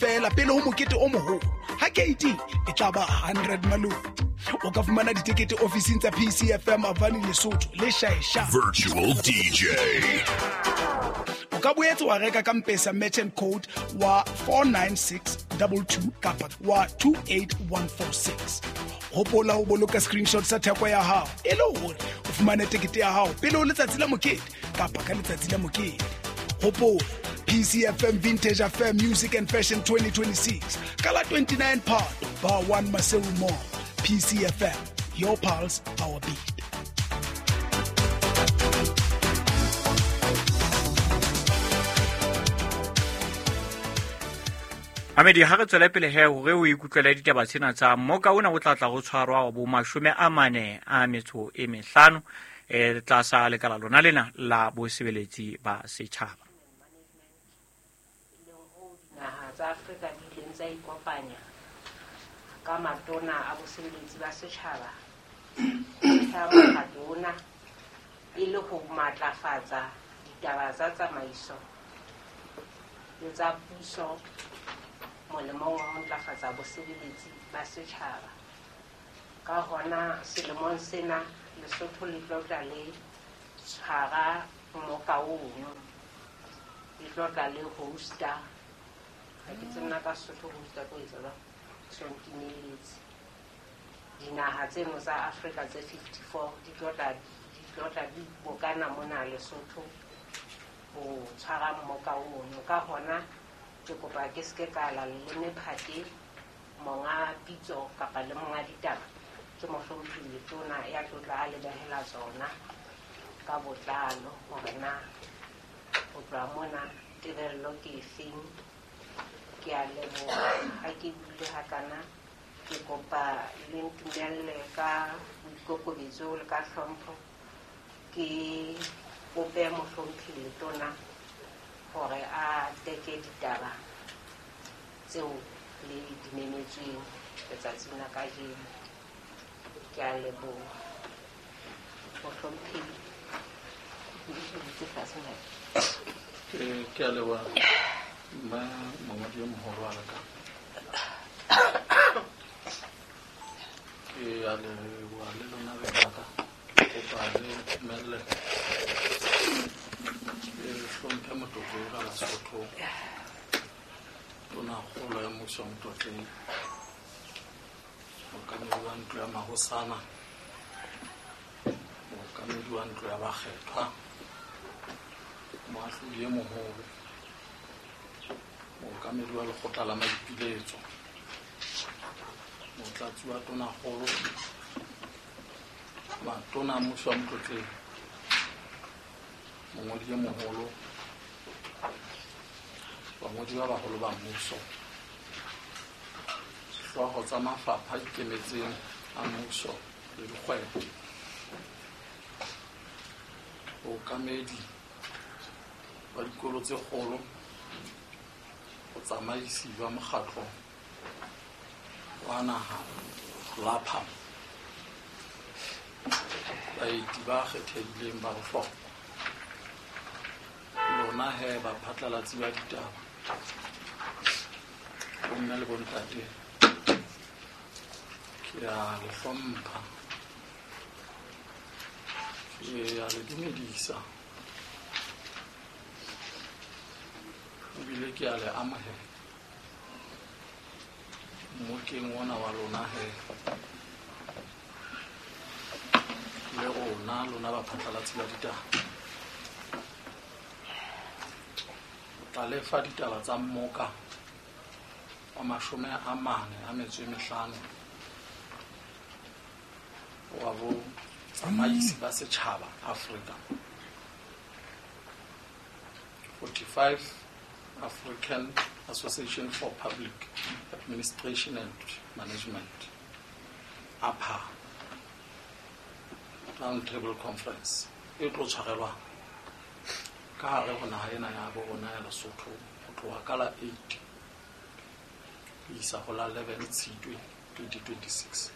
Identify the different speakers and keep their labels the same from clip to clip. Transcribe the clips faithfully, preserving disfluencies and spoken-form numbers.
Speaker 1: Feela pele ho mokete o moholo ha keiti e tla ba hundred malome. O ka fumana ditekete ofising tsa P C F M Avani Lesotho le Shaesha.
Speaker 2: Virtual D J.
Speaker 1: O ka boetse wa reka ka Mpesa merchant code wa four nine six two two kapa wa two eight one four six. Hopola ho boloka screenshot sa theko ya hao e le hore o fumane tekete ya hao pele ho letsatsi la mokete kapa ka letsatsi la mokete. Hopola P C F M Vintage Affair Music and Fashion twenty twenty-six. Kala twenty-nine Part, Bar one Maseru Mall. P C F M, your pulse, our beat.
Speaker 3: Amedi ha re tswele pele he hore o ikutlwele ditaba tsena tsa mmoka ona o tla tla go tshwarwa wa bo mashome a mane a metso e mehlano eh tlasa lekala lona lena la bosebeletsi ba setjhaba.
Speaker 4: Naha tsa Afrika di ileng tsa ikopanya ka matona a bosebeletsi ba setjhaba ka mokgatlo ona e le ho matlafatsa ditaba tsa tsamaiso le tsa puso molemong wa ho ntlafatsa bosebeletsi ba setjhaba. Ka hona selemong sena Lesotho le tlo tla le tshwara mmoka ono, le tlo tla le hosta. Ha ke tsena ka Sesotho hosta ko etsa jwang? So ntimeletse. Dinaha tseno tsa Afrika tse fifty-four di tlo tla di tlo tla di bokana mona Lesotho ho tshwara mmoka ono. Ka hona ke kopa ke se ke ka la leleme phate monga pitso kapa le monga ditaba ke mohlomphehi Letona ya tlo tla a le behela tsona ka botlalo hore na ho tloha mona tebello ke efeng. Ke a leboha ha ke buile hakana, ke kopa le ntumelle ka boikokobetso le ka hlompho ke kope mohlomphehi Letona hore a teke ditaba tseo le di memetsweng letsatsing la kajeno. Ke a leboha mohlomphehi.
Speaker 5: Ke a leboha mma mongodi e moholo wa ka. Ke a leboha le lona be ba ka. Ke kopa le ntumelle ke hlomphe motlotlo ka Basotho. Tonakgolo ya mmuso wa Motlotleng, mookamedi wa ntlo ya mahosana, mookamedi wa ntlo ya bakgethwa, moahlodi e moholo, mookamedi wa lekgotla la maipiletso, motlatsi wa tonakgolo, matona a mmuso wa Motlotleng, mongodi e moholo, bangodi ba baholo ba mmuso, hlooho tsa mafapha a ikemetseng a mmuso le dikgwebo, bookamedi ba dikolo tse kgolo, botsamaisi ba mokgatlo wa naha LAPAM, baeti ba kgethehileng ba bohlokwa, lona he baphatlalatsi ba ditaba, bomme le bontate, ke a le hlompha, ke a le dumedisa, ebile ke a le amohela mmokeng ona wa lona he le rona lona baphatlalatsi ba ditaba. Tla lefa ditaba tsa mmoka wa mashome a mane a metso e mehlano wa botsamaisi ba setjhaba Afrika, forty-five African Association for Public Administration and Management, A P A Round Table Conference e tlo tshwarelwa ka hare ho naha ena ya bo rona ya Lesotho ho tloha ka la eight ho isa ho la eleven Tshitwe twenty twenty-six.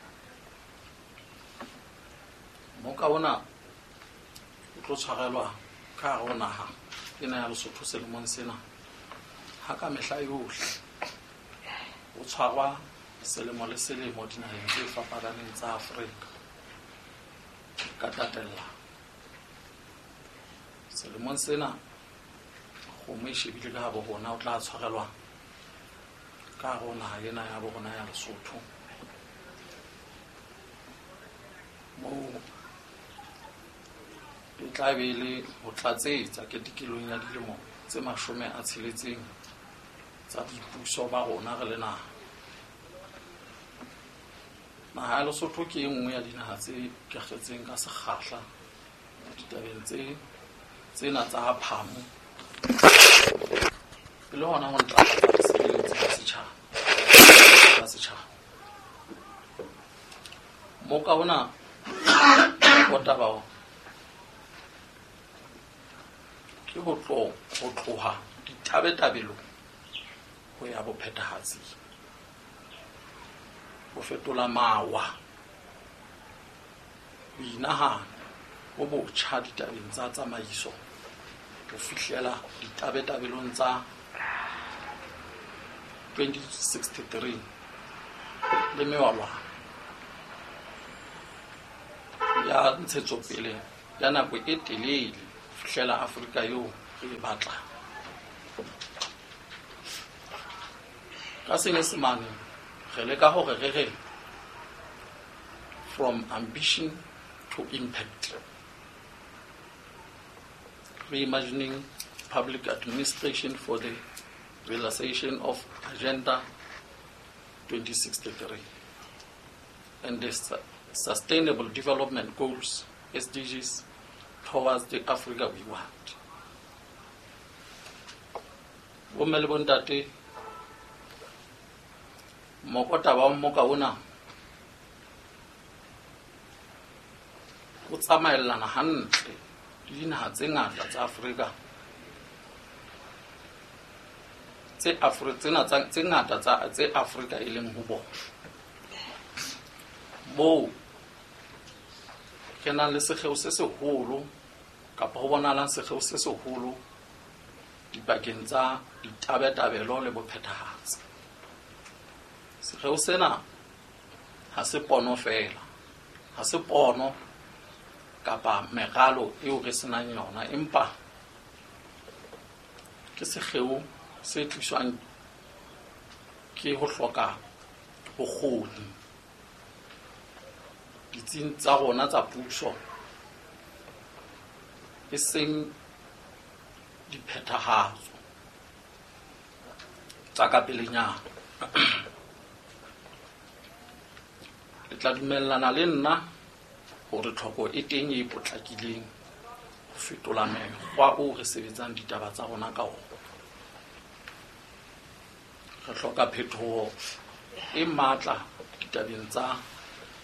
Speaker 5: Mmoka ona o tlo tshwarelwa ka hare ho naha ena ya Lesotho selemong sena ha ka mehla yohle tshwarwa selemo le selemo dinaheng tse fapaneng tsa Afrika ka tatellano. Selemong sena kgomo e shebile ka habo rona o tla tshwarelwa ka hare ho naha ena ya bo rona ya Lesotho, moo e tla be le ho tlatsetsa ketekelong ya dilemo tse mashome a tsheletseng tsa boipuso ba rona re le naha. Naha ya Lesotho ke e nngwe ya dinaha tse ikakgetseng ka sekgahla ditabeng tse tsena tsa phamo, e le hona ho ntlafatsa bosebeletsi ba setjhaba ba setjhaba. Moka ona o taba o ke ho tlo ho tloha ditabetabelong ho ya bophethahatsing, ho fetola mawa, ho inahana bo botjha ditabeng tsa tsamaiso ho fihlela ditabetabelong tsa twenty sixty-three le mewalwana ya ntshetsopele ya nako e telele ho fihlela Afrika eo re e batlang. Ka Senyesemane re leka hore re re from ambition to impact, reimagining public administration for the realization of Agenda twenty sixty-three and the Sustainable Development Goals, S D Gs, towards the Africa we want. Bomme le bontate, mokotaba wa mmoka ona o tsamaellana hantle le dinaha tse ngata tsa Afrika tse Afrika tsena tsa tse ngata tsa tse Afrika e leng ho bona, moo ke nang le sekgeo se seholo kapa ho bonahalang sekgeo se seholo dipakeng tsa ditabetabelo le bophethahatsi. Sekgeo sena ha se pono feela, ha se pono kapa meralo eo re senang yona, empa ke sekgeo se tliswang ke ho hloka bokgoni ditsing tsa rona tsa puso, e seng diphethahatso tsa ka pelenyana. Le tla dumellana le nna hore tlhoko e teng e potlakileng ho fetola mekgwa oo re sebetsang ditaba tsa rona ka ona. Re hloka phetoho e matla ditabeng tsa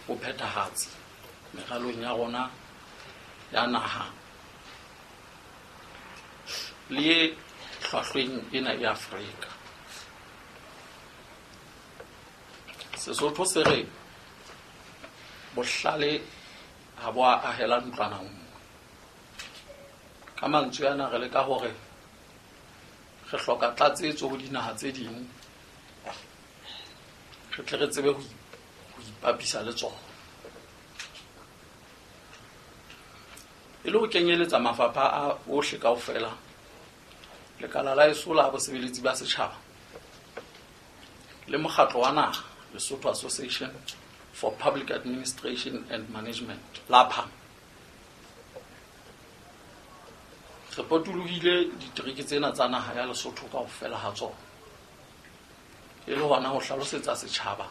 Speaker 5: bophethahatsi meralong ya rona ya naha le e hlwahlweng ena ya Afrika. Sesotho se re bohlale ha bo a ahela ntlwana nngwe. Ka mantswe ana re leka hore re hloka tlatsetso ho dinaha tse ding, re tle re tsebe ho ipapisa le tsona. E le ho kenyeletsa mafapha a ohle kaofela, lekala la heso la bosebeletsi ba setjhaba le mokgatlo wa naha Lesotho Association for Public Administration and Management, LAPAM, re potolohile ditereke tsena tsa naha ya Lesotho kaofela ha tsona, e le hona ho hlalosetsa setjhaba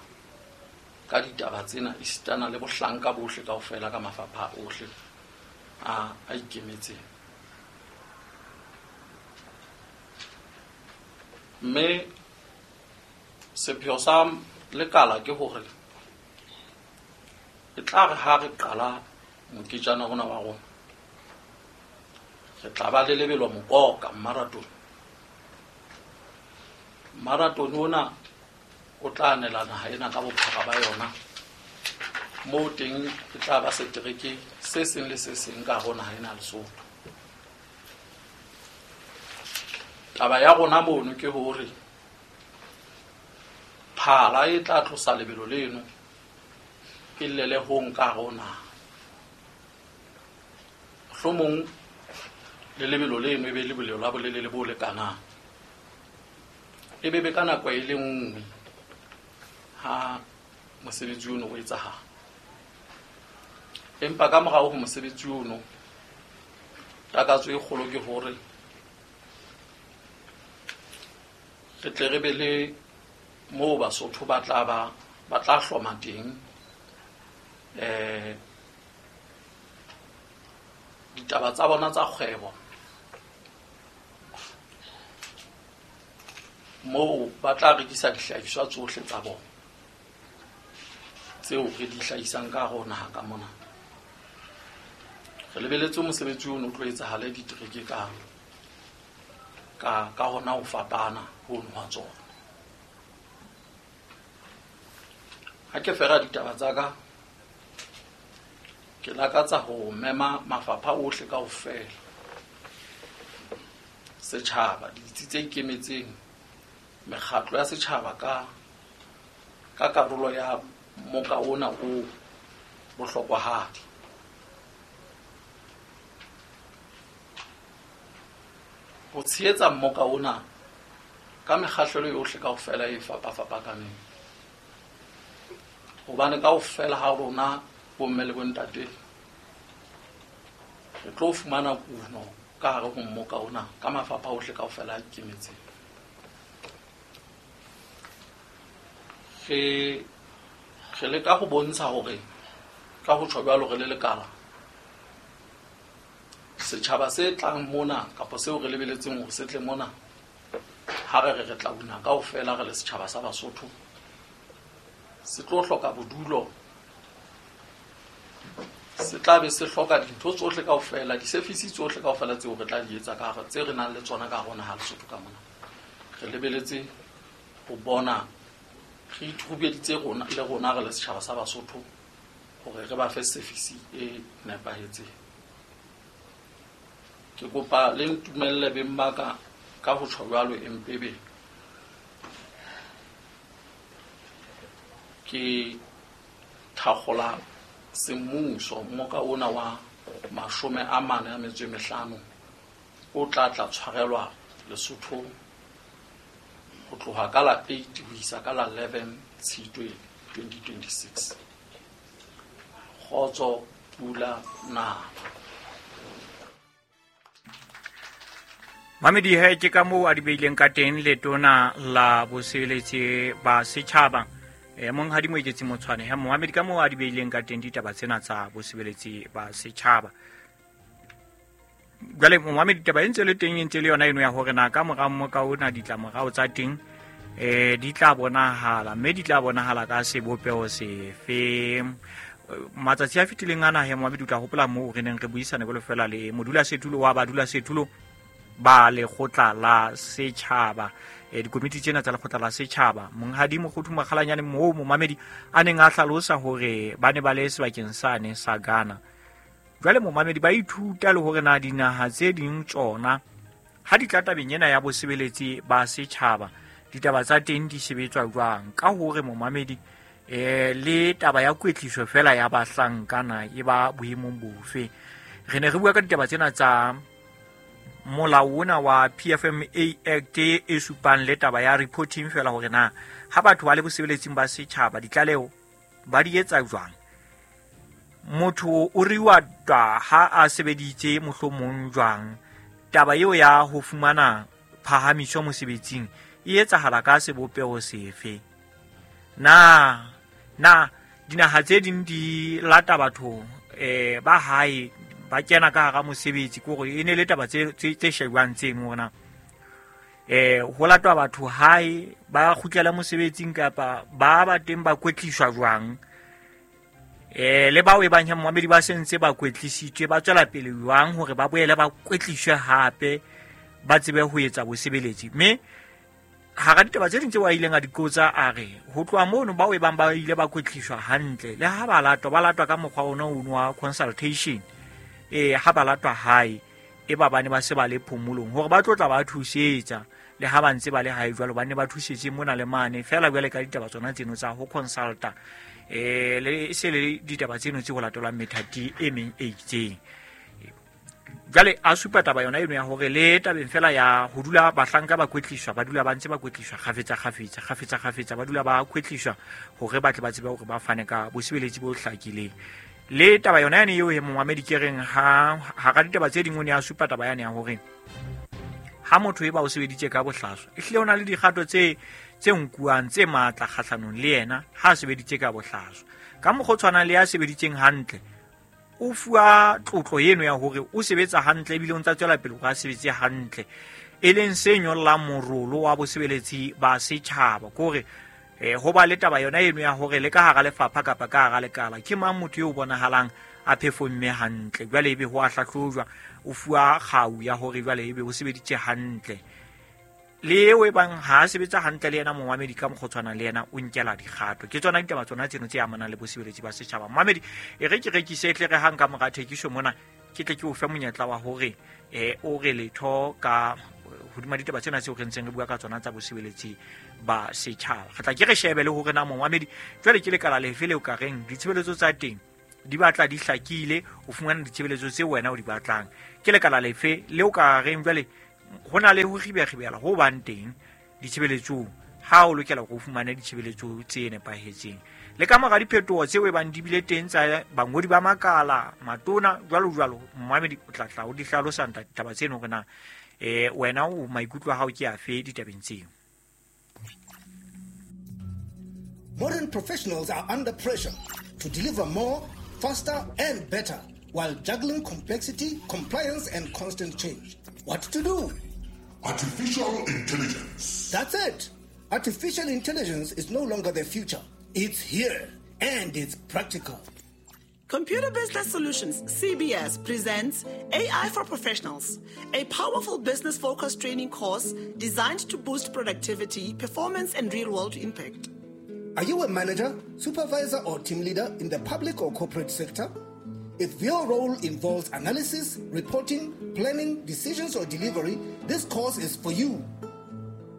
Speaker 5: ka ditaba tsena esitana le bohlanka bohle kaofela ka mafapha ohle a a ikemetseng. Mme sepheo sa lekala ke hore e tla re ha re qala moketjana ona wa rona, re tla ba le lebelo mokoka marathon. Marathon ona o tla anela naha ena ka bophara ba yona, moo teng e tla ba setereke se seng le se seng ka hare ho naha ena ya Lesotho. Taba ya rona mono ke hore Phala e tla tlosa lebelo leno e llele hong ka hare ho naha. Mohlomong le lebelo leno e be lebelo la bolelele bo lekanang. E be be ka nako e le nngwe ha mosebetsi ono o etsahala. Empa ka morao ho mosebetsi ono, takatso e kgolo ke hore re tle re be le moo Basotho ba tla ba ba tla hloma teng eh ditaba tsa bona tsa kgwebo, moo ba tla rekisa dihlahiswa tsohle tsa bona tseo re di hlahisang ka hare ho naha ka mona. Re lebeletse mosebetsi ono o tlo etsahale ditereke ka ka ka hona ho fapana hono ha tsona. Ha ke fera ditaba tsa ka, ke lakatsa ho mema mafapha ohle kaofela, setjhaba, ditsi tse ikemetseng, mekgatlo ya setjhaba ka ka karolo ya moka ona o bohlokwahadi. Ho tshehetsa mmoka ona ka mekgahlelo yohle kaofela e fapafapakaneng, hobane kaofela ha rona bomme le bontate re tlo fumana kuno ka hare ho mmoka ona ka mafapha ohle kaofela a ikemetseng. Re re leka ho bontsha hore ka ho tjho jwalo re le lekala, setjhaba se tlang mona kapa seo re lebeletseng hore se tle mona, ha re re re tla una kaofela re le setjhaba sa Basotho, se tlo hloka bodulo, se tla be se hloka dintho tsohle kaofela, di-service tsohle kaofela tseo re tla di etsa ka hare, tse re nang le tsona ka hare ho naha Lesotho ka mona. Re lebeletse ho bona re ithubeditse rona le rona re le setjhaba sa Basotho hore re ba fe service e nepahetseng. Ke kopa le ntumelle beng ba ka ka ho tjho jwalo empebe ke thakgola semmuso mmoka ona wa mashome a mane a metso e mehlano o tla tla tshwarelwa Lesotho ho tloha ka la eight ho isa ka la eleven Tshitwe twenty twenty-six. Kgotso, pula, nala.
Speaker 3: Mamedi he ke ka moo a di beileng ka teng letona la bosebeletsi ba setjhaba e monghadi Moeketsi Motshwane. He Mohamedi ka moo a di beileng ka teng ditaba tsena tsa bosebeletsi ba setjhaba. Jwale Mohamedi taba e ntse le teng e ntse le yona eno ya hore na ka mora mmoka ona ditlamorao tsa teng eh di tla bonahala, mme di tla bonahala ka sebopeho sefe. Matsatsi a fetileng ana he Mohamedi o tla hopola moo re neng re buisane jwalo fela le modulasetulo wa badulasetulo ba lekgotla la setjhaba, e dikomiti tsena tsa lekgotla la setjhaba, monghadi Mokgothu Makgalanyane, moo momamedi a neng a hlalosa hore ba ne ba le sebakeng sane sa Ghana. Jwale momamedi ba ithuta le hore na dinaha tse ding tsona ha di tla tabeng ena ya bosebeletsi ba setjhaba ditaba tsa teng di sebetswa jwang, ka hore momamedi eh le taba ya kwetliso fela ya bahlankana e ba boemong bofe. Re ne re bua ka ditaba tsena tsa molao ona wa P F M A Act e supang le taba ya reporting fela hore na ha batho ba le bosebeletsing ba setjhaba ditlaleho ba di etsa jwang. Motho o riwa twa ha a sebeditse mohlomong jwang, taba eo ya ho fumana phahamiso mosebetsing e etsahala ka sebopeho sefe. Na na dinaha tse ding di lata batho eh ba hae ba kena ka hara mosebetsi, ke hore e ne le taba tse tse shebang tseno hore na eh ho latwa batho hae ba kgutlela mosebetsing kapa ba ba teng ba kwetliswa jwang, eh le bao e bang momamedi ba sentse ba kwetlisitswe ba tswela pele jwang hore ba boele ba kwetliswe hape ba tsebe ho etsa bosebeletsi. Mme hara ditaba tse ding tseo a ileng a di qotsa a re ho tloha mono bao e bang ba ile ba kwetliswa hantle le ha ba latwa ba latwa ka mokgwa ona ono wa consultation, eh ha ba latwa hae e ba bane ba se ba le phomolong hore ba tlo tla ba thusetsa Le ha ba ntse ba le hae jwalo ba ne ba thusetse mona le mane fela jwale ka ditaba tsona tseno tsa ho consulta eh le se le ditaba tseno tse ho latelwang methati e meng e itseng. Jwale a supa taba yona eno ya hore le tabeng fela ya ho dula bahlanka ba kwetliswa, ba dula ba ntse ba kwetliswa kgafetsa kgafetsa kgafetsa kgafetsa, ba dula ba kwetliswa hore ba tle ba tsebe hore ba fane ka bosebeletsi bo hlakileng. Le taba yona yane eo e momamedi ke reng ha hara ditaba tse ding o ne a supa taba yane ya hore ha motho e ba o sebeditse ka bohlaswa, ehlile o na le dikgato tse tse nkuwang tse matla kgahlanong le yena ha a sebeditse ka bohlaswa. Ka mokgwa o tshwanang le ya sebeditseng hantle, o fuwa tlotlo eno ya hore o sebetsa hantle ebile o ntsa tswela pele hore a sebetse hantle, e leng se nyollang morolo wa bosebeletsi ba setjhaba. Ke hore eh ho ba le taba yona eno ya hore le ka hara lefapha kapa ka hara lekala ke mang motho eo bonahalang a performe hantle, jwale ebe ho a hlahlojwa, o fuwa kgau ya hore jwale ebe o sebeditse hantle. Le eo e bang ha a sebetsa hantle le yena momamedi ka mokgwa o tshwanang le yena o nkela dikgato. Ke tsona ditaba tsona tseno tse amanang le bosebeletsi ba setjhaba. Momamedi, e re ke rekise tle re hang ka mora thekiso mona, ke tle ke o fe monyetla wa hore eh o re letho ka hodima ditaba tsena tseo re ntseng re bua ka tsona tsa bosebeletsi ba setjhaba. Re tla ke re shebe le hore na momamedi jwale ke lekala lefe leo ka reng ditshebeletso tsa teng di batla di hlakile, o fumana ditshebeletso tse wena o di batlang. Ke lekala lefe leo ka reng jwale ho na le ho kgibekgibela ho bang teng ditshebeletsong ha o lokela hore o fumane ditshebeletso tse nepahetseng. Le ka mora diphetoho tseo e bang di bile teng tsa bangodi ba makala, matona, jwalo jwalo, momamedi o tla tla o di hlalosa ditaba tseno hore na eh wena o maikutlo a hao ke afe ditabeng tseo.
Speaker 2: Modern professionals are under pressure to deliver more, faster and better while juggling complexity, compliance and constant change. What to do?
Speaker 6: Artificial intelligence.
Speaker 2: That's it. Artificial intelligence is no longer the future. It's here and it's practical.
Speaker 7: Computer Business Solutions, C B S, presents A I for Professionals, a powerful business-focused training course designed to boost productivity, performance, and real-world impact.
Speaker 2: Are you a manager, supervisor, or team leader in the public or corporate sector? If your role involves analysis, reporting, planning, decisions, or delivery, this course is for you.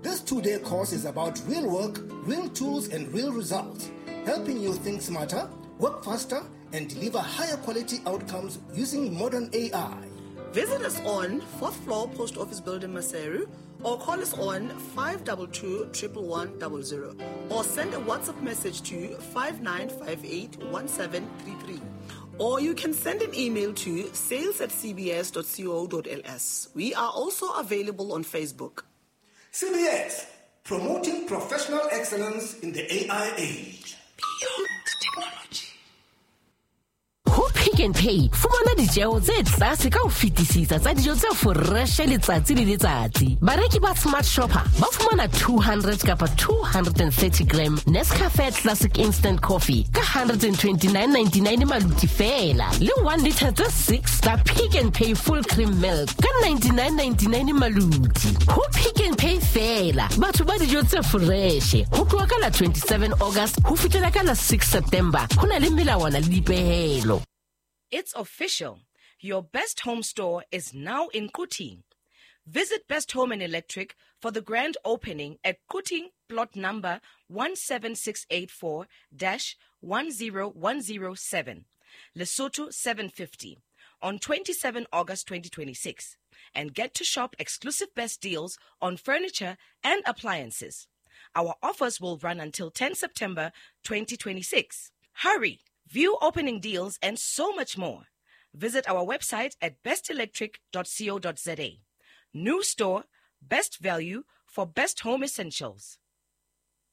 Speaker 2: This two-day course is about real work, real tools, and real results, helping you think smarter, work faster, and deliver higher quality outcomes using modern A I.
Speaker 7: Visit us on fourth floor Post Office Building, Maseru, or call us on five two two, one one one, zero zero, or send a WhatsApp message to five nine five eight, one seven three three. Or you can send an email to sales at c b s dot co dot l s. We are also available on Facebook.
Speaker 2: C B S, promoting professional excellence in the A I age.
Speaker 7: Beyond technology.
Speaker 8: Ho Pick n Pay, fumana ditjeo tse tlase ka ho fetisisa tsa dijo tse fresh letsatsi le letsatsi. Bareki ba Smart Shopper ba fumana two hundred kapa two hundred thirty gram Nescafe Classic Instant Coffee ka one hundred twenty-nine ninety-nine maluti fela, le one liter tse six tsa Pick n Pay Full Cream Milk ka ninety-nine ninety-nine maluti. Ho Pick n Pay fela, batho ba dijo tse fresh. Ho tloha ka la twenty-seven August ho fihlela ka la six September. Ho na le melawana le dipehelo.
Speaker 9: It's official. Your Best Home store is now in Quthing. Visit Best Home and Electric for the grand opening at Quthing, plot number one seven six eight four dash one zero one zero seven, Lesotho seven fifty, on twenty-seventh August twenty twenty-six, and get to shop exclusive best deals on furniture and appliances. Our offers will run until tenth September twenty twenty-six. Hurry! View opening deals and so much more. Visit our website at best electric dot co dot za. New store, best value for best home essentials.